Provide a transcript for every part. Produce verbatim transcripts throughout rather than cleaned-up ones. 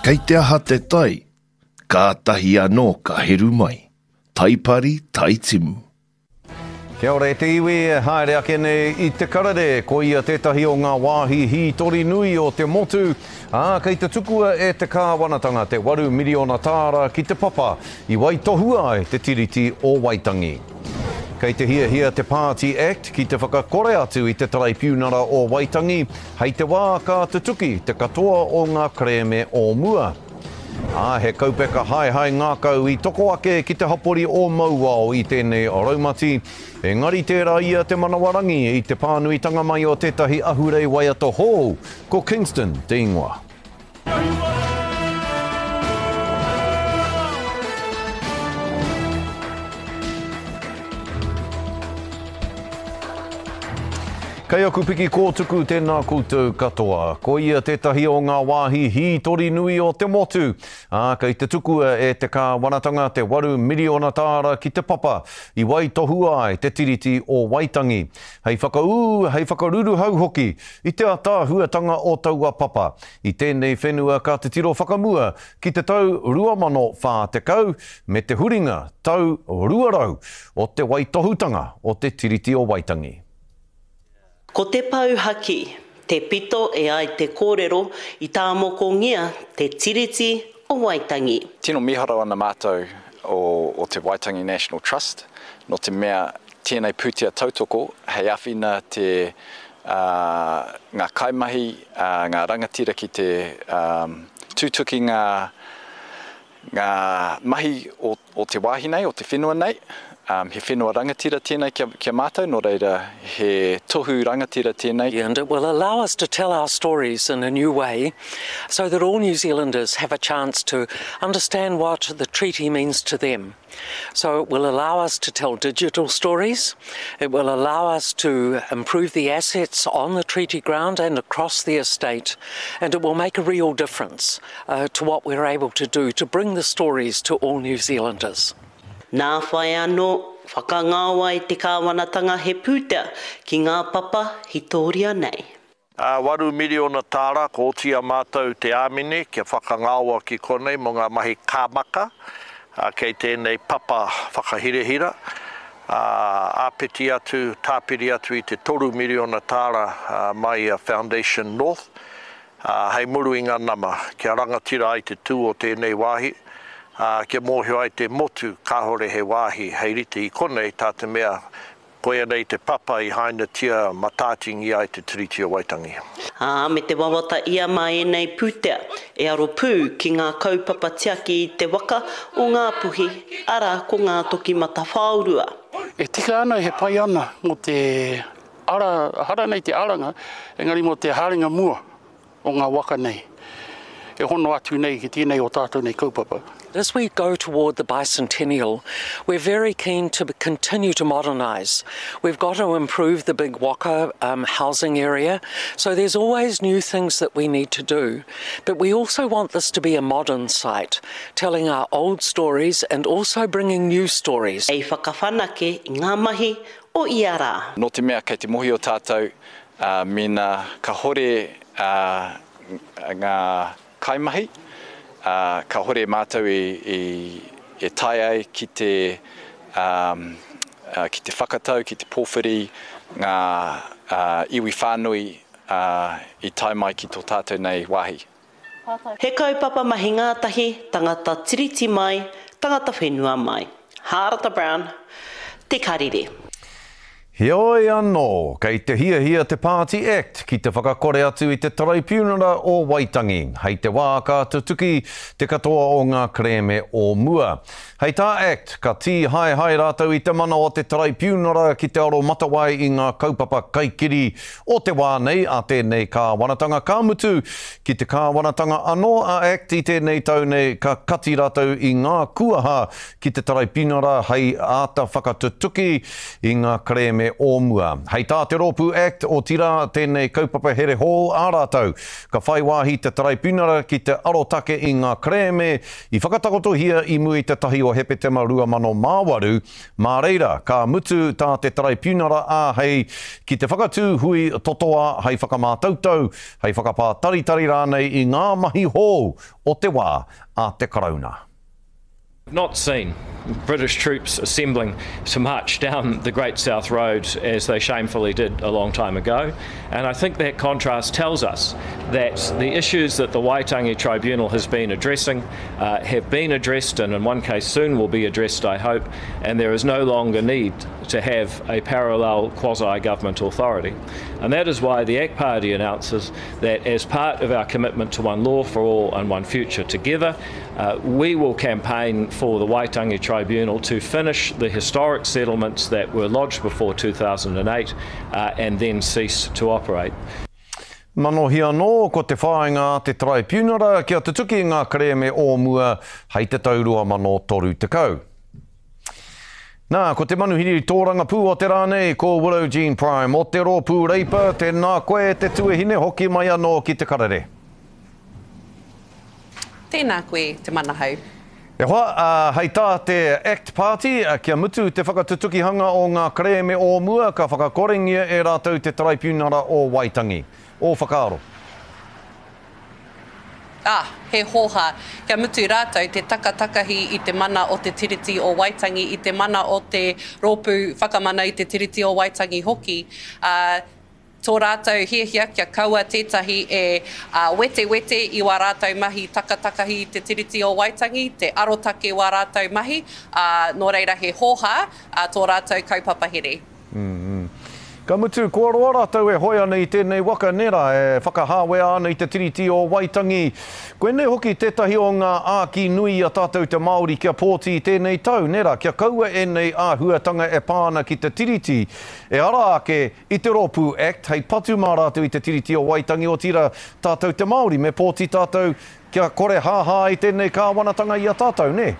Kei te aha te tai, kātahi anō ka heru mai. Taipari, taitimu. Kia ora e te iwi e haere ake nei i Te Karere, ko ia tētahi o ngā wāhi hītori nui o te motu, ā, kei te tukua e te kāwanatanga te waru miriona tāra ki te papa i waitohua ai te Tiriti o Waitangi. Kei te hiahia te Pāti Act ki te whakakore atu i te Taraipiunara o Waitangi hei te wā ka tutuki te katoa o ngā kerēme o mua. Ā, he kaupeka haehae ngākau i toko ake ki te hapori o Mauao i tēnei raumati, engari tērā ia te manawarangi i te pānuitanga mai o tētahi ahurei waiata hou, ko Kingston te ingoa. Kei aku piki kōtuku tēnā koutou katoa. Ko ia tētahi o ngā wāhi hītori nui o te motu. Ā, kei te tukua e te kāwanatanga te waru miriona tāra ki te papa i waitohua ai te Tiriti o Waitangi. Hei whakaū, hei whakaruruhau hoki i te ātaahuatanga o taua papa. I tēnei whenua ka titiro whakamua ki te tau rua mano whā tekau me te huringa tau rua rau o te waitohutanga o te Tiriti o Waitangi. Ko te pou haki, te pito e ai te kōrero i tāmokongia te Tiriti o Waitangi. Tino miharo ana mātou o, o te Waitangi National Trust, nō te mea tēnei pūtea tautoko hei āwhina te, uh, ngā kaimahi, uh, ngā rangatira ki te um, tutuki ngā, ngā mahi o, o te wāhi nei, o te whenua nei. Um, he whenua rangatira tēnei kia, kia mātou, nō reira he tohu rangatira tēnei. And it will allow us to tell our stories in a new way so that all New Zealanders have a chance to understand what the treaty means to them. So it will allow us to tell digital stories, it will allow us to improve the assets on the treaty ground and across the estate, and it will make a real difference, uh, to what we're able to do to bring the stories to all New Zealanders. Nā whai anō, whakangao ai te kāwanatanga he pūtea ki ngā papa hitoria nei. Ā, waru miriona tāra, ko oti a mātou te āmine kia whakangaoa ki konei mō ngā mahi kāmaka, ā, kei tēnei papa whakahirahira. Ā, āpiti atu, tāpiri atu i te toru miriona tāra, ā, mai a Foundation North, ā, hei muru i ngā nama, kia rangatira ai te tū o tēnei wāhi, ā, kia mōhio ai te motu kāore he wāhi hei rite i konei tā te mea koia nei te papa i hainatia matātingi ai te Tiriti o Waitangi. Ā, me te wawata ia mā ēnei pūtea e aro pū ki ngā kaupapa tiaki i te waka o Ngāpuhi, arā ko Ngā Toki Matawhaorua. E tika ana, he pai ana mō te ara, hara nei te aranga, engari mō te haerenga mua o ngā waka nei, e hono atu nei ki tēnei o tātou nei kaupapa. As we go toward the bicentennial, we're very keen to continue to modernise. We've got to improve the big waka, um, housing area, so there's always new things that we need to do. But we also want this to be a modern site, telling our old stories and also bringing new stories. Ei whakawhanake i ngā mahi o ia rā. Nō te mea kei te mohio tātou, uh, mēnā kahore, uh, ngā kaimahi, uh, kahore mātou i, i, e tae ai ki te, um, uh, ki te whakatau, ki te pōwhiri ngā, uh, iwi whānui, uh, i tae mai ki tō tātou nei wāhi. He kaupapa mahi ngātahi, tangata tiriti mai, tangata whenua mai. Hārata Brown, Te Karere. Heoi anō, kei te hiahia te Pāti Act ki te whakakore atu i te Taraipiunara o Waitangi. Hei te wā ka tutuki te katoa o ngā kerēme o mua. Hei tā Act, ka tīhaehae rātou i te mana o te Taraipiunara ki te aro matawai i ngā kaupapa kaikiri o te wā nei a tēnei kāwanatanga. Ka mutu ki te kāwanatanga anō a Act i tēnei tau nei ka kati rātou i ngā kuaha ki te Taraipiunara hei āta whakatutuki i ngā kerēme kerēme o mua. Hei tā te rōpū Act, otirā tēnei kaupapa here hou a rātou, ka whai wāhi te Taraipiunara ki te arotake i ngā kerēme i whakatakotohia i mua i te tahi o Hepetema rua mano mā waru, mā reira, ka mutu tā te Taraipiunara āhei ki te whakatū hui totoa hei whakamātautau, hei whakapātaritari rānei i ngā mahi hou o te wā a te Karauna. Not seen British troops assembling to march down the Great South Road as they shamefully did a long time ago. And I think that contrast tells us that the issues that the Waitangi Tribunal has been addressing uh, have been addressed, and in one case soon will be addressed, I hope, and there is no longer need to have a parallel quasi-government authority. And that is why the ACT Party announces that as part of our commitment to one law for all and one future together, uh, we will campaign for the Waitangi Tribunal to finish the historic settlements that were lodged before two thousand eight uh, and then cease to operate. Manohi anō, ko te whāinga a te Traipiunara kia tutuki ngā kerēme o mua hei te tau rua mano toru tekau. Nā, ko te manuhiri tōrangapū o te rā nei, ko Willow Jean Prime o te rōpū Reipa, tēnā koe te tuahine hoki mai anō ki te karere. Tēnā koe te manahau. E hoa, uh, hei tā te ACT Party, uh, kia mutu te whakatutukihanga o ngā kerēme o mua, ka whakakorengia e rātou te Taraipiunara o Waitangi. O whakaaro. Ah, he hōhā. Kia mutu rātou te takatakahi i te mana o te Tiriti o Waitangi, i te mana o te rōpū whakamana i te Tiriti o Waitangi hoki. Uh, tō rātou hiahia kia kaua tētahi e uh, wete-wete i wā rātou mahi takatakahi i te Tiriti o Waitangi, te arotake wā rātou mahi, uh, nō reira he hōhā uh, tō rātou kaupapa here. Mm-hmm. Ka mutu, kua roa rātou e hoe ana i tēnei waka nera e whakahāwea ana i te Tiriti o Waitangi. Koinei hoki tētahi o ngā āki nui a tātou te Māori kia pōti i tēnei tau, nera, kia kaua ēnei āhuatanga e pā ana ki te Tiriti. E ara ake i te rōpū Act hei patu mā rātou i te Tiriti o Waitangi, otirā tātou te Māori me pōti tātou kia kore hāhā i tēnei kāwanatanga i a tātou, ne?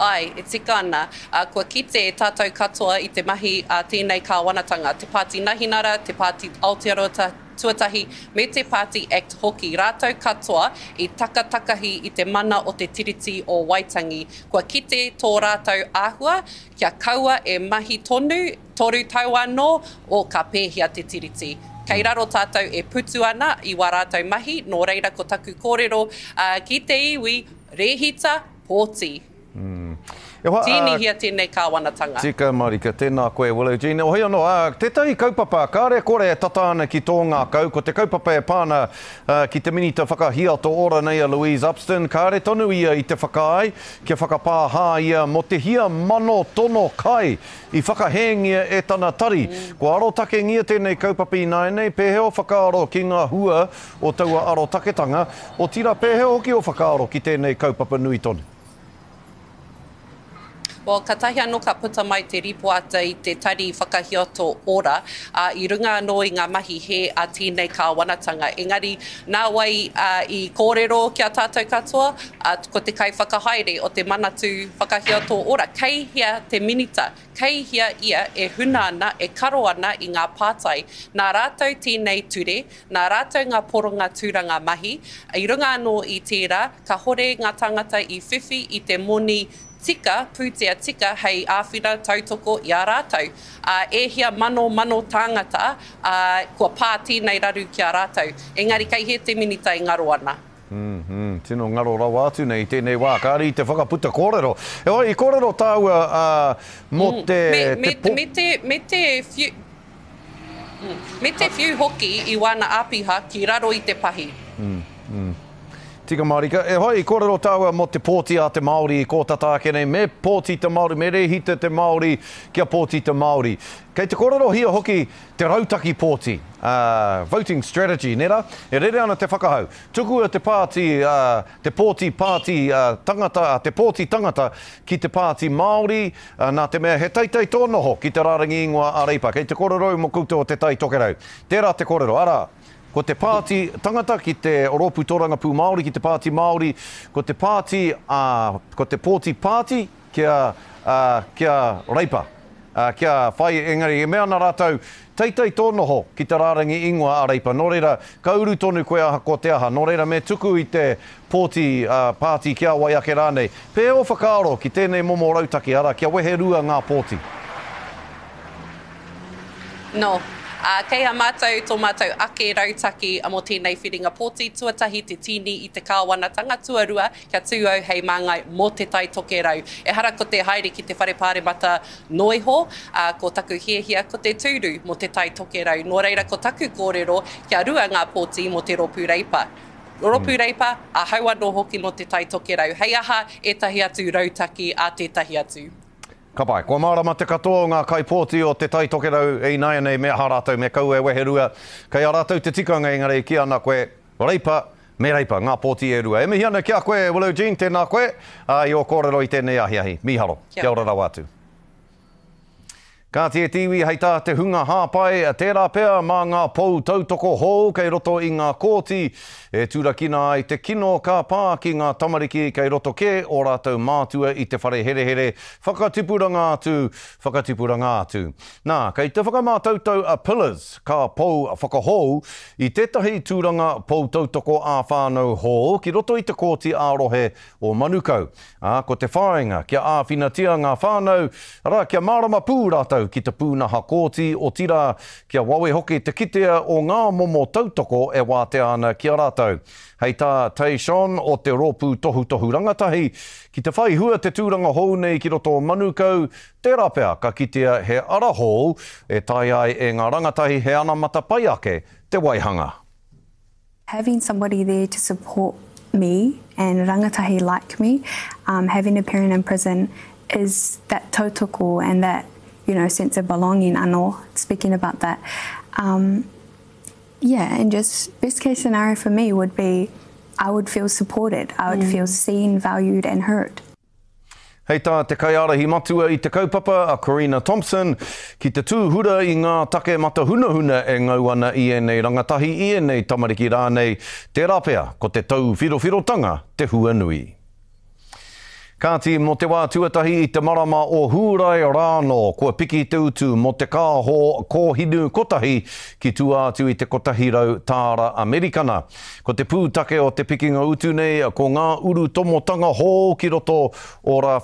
Ai, e tika ana, uh, kua kite tātou katoa i te mahi a tēnei kāwanatanga, te Pāti Nahinara, te Pāti Aotearoa Tuatahi, me te Pāti Act hoki. Rātou katoa i takatakahi i te mana o te Tiriti o Waitangi. Kua kite tō rātou āhua, kia kaua e mahi tonu, toru tau anō, o ka pēhia te Tiriti. Kei raro tātou e putu ana i wā rātou mahi, nō reira ko taku kōrero uh, ki te iwi, rehita, pōti. Mm. E hoa, Tīnihia tēnei kāwanatanga. Tika marika, tēnā koe, Willow Jean. Hoi anō, uh, tētahi kaupapa, kāre kore e tata ana ki tō ngākau, ko te kaupapa e pāna uh, ki te minita whakahiato ora nei a Louise Upston, kāre tonu ia i te whakaae, kia whakapāhā ia mō te hia mano tono kai i whakahēngia e tana tari. Mm. Ko arotakengia tēnei kaupapa ināianei, pēhea o whakaaro ki ngā hua o taua arotaketanga, otirā pēhea hoki o whakaaro ki tēnei kaupapa nui tonu? Well, ka tahi anō ka puta mai te ripoata i te tari whakahiato ora, uh, i runga anō i ngā mahi he a tēnei kāwanatanga. Engari, nā wai uh, i kōrero kia tātou katoa, uh, ko te kai whakahaere o te Manatū Whakahiato Ora. Kei hea te minita, kei hea ia e huna ana, e karo ana i ngā pātai. Nā rātou tēnei ture, nā rātou ngā poronga tūranga mahi, i runga anō i tērā, ka hore ngā tangata i whiwhi i te moni tika, pūtea tika, hei āwhina tautoko i a rātou. Uh, e hia mano mano tāngata, uh, kua pā tēnei raru ki a rātou. Engari kei he te minita i ngaro ana. Mm -hmm. Tino ngaro rawa atu nei tēnei wā, kāre i te whakaputa kōrero. E oi, i kōrero tāua uh, mō te... Me, me, te po... me te, me te whiu, me te whiu hoki i wāna āpiha ki raro i te pahi. Mm, mm. Tika marika, e hoi, i kōrero tāua mō te pōti a te Māori i kōtata ake nei, me pōti te Māori, me rehita te Māori, kia pōti te Māori. Kei te kōrerohia hoki te rautaki pōti, uh, voting strategy, nera? E rere ana te whakahau. Tukua te pāti, uh, te pōti pāti uh, tangata, uh, te pōti tangata ki te pāti Māori, uh, nā te mea he teitei tō noho ki te rārangi ingoa a Reipa. Kei te kōrero mō koutou o te Tai Tokerau. Tērā te kōrero, arā. Ko te pāti tangata ki te rōpū tōrangapū Māori, ki te pāti Māori, ko te pāti, uh, ko te pōti pāti kia, uh, kia Reipa. kia whai, engari, e mea ana rātou, teitei tō noho ki te rārangi ingoa a Reipa. Nō reira, ka uru tonu koe ahakoa te aha. Nō reira, me tuku i te pōti pāti ki a wai ake rānei. Pēhea ō whakaaro ki tēnei momo rautaki, arā, kia wehe rua ngā pōti? Nō. Ā, kei a mātou tō mātou ake rautaki mō tēnei whiringa pōti, tuatahi te tīni i te kāwanatanga, tuarua kia tū au hei māngai mō Te Tai Tokerau. Ehara ko te haere ki te whare pāremata noa iho, ā, ko taku hiahia ko te tūru mō Te Tai Tokerau. Nō reira ko taku kōrero kia rua ngā pōti mō te Rōpū Reipa. Rōpū Reipa, ahau anō hoki mō Te Tai Tokerau. Hei aha ētahi atu rautaki a tētahi atu. Ka pai. Kua mārama te katoa o ngā kaipōti o Te Tai Tokerau ināianei me aha rātou, me kaua e weherua. Kei a rātou te tikanga engari e kī ana koe, Reipa, me Reipa, ngā pōti e rua. E mihi ana ki a koe, Willow Jean, tēnā koe, ā, i ō kōrero i tēnei ahiahi. Mīharo. Kia ora rawa atu. Kāti e te iwi hei tā te hunga hāpai, tērā pea mā ngā pou tautoko hou kei roto i ngā kōti e turakina ai te kino ka pā ki ngā tamariki kei roto kē ō rātou mātua i te whare herehere whakatipuranga atu, whakatipuranga atu. Nā, kei te whakamātautau a Pillars, ka pou whakahou, i tētahi tūranga pou tautoko ā-whānau hou ki roto i te kōti ā-rohe o Manukau. Ā, ko te whāinga kia āwhinatia ngā whānau, arā, kia mārama pū rātou ki te pūnaha kōti, otirā, kia wawe hoki te kitea o ngā momo tautoko e wātea ana ki a rātou. Hei tā Tay Shon o te Rōpū Tohutohu Rangatahi, ki te whai hua te tūranga hou nei ki roto o Manukau, tērā pea ka kitea he ara hou e taea ai e ngā rangatahi he anamata pai ake te waihanga. Having somebody there to support me and rangatahi like me, um, having a parent in prison is that tautoko and that, you know, sense of belonging anō, speaking about that. Um, yeah, and just best case scenario for me would be I would feel supported, I would mm. feel seen, valued and heard. Hei tā te kaiārahi matua i te kaupapa a Corina Thompson, ki te tūhura i ngā take matahunahuna e ngau ana i ēnei rangatahi, i ēnei tamariki rānei, tērā pea ko te tauwhirowhirotanga te hua nui. Kāti, mō te wā tuatahi i te marama o Hūrae rānō, kua piki te utu mō te kāho kōhinu kotahi ki tua atu i te kotahi rau tāra Amerikana. Ko te pūtake o te pikinga utu nei, ko ngā urutomotanga hou ki roto o Rāwhiti.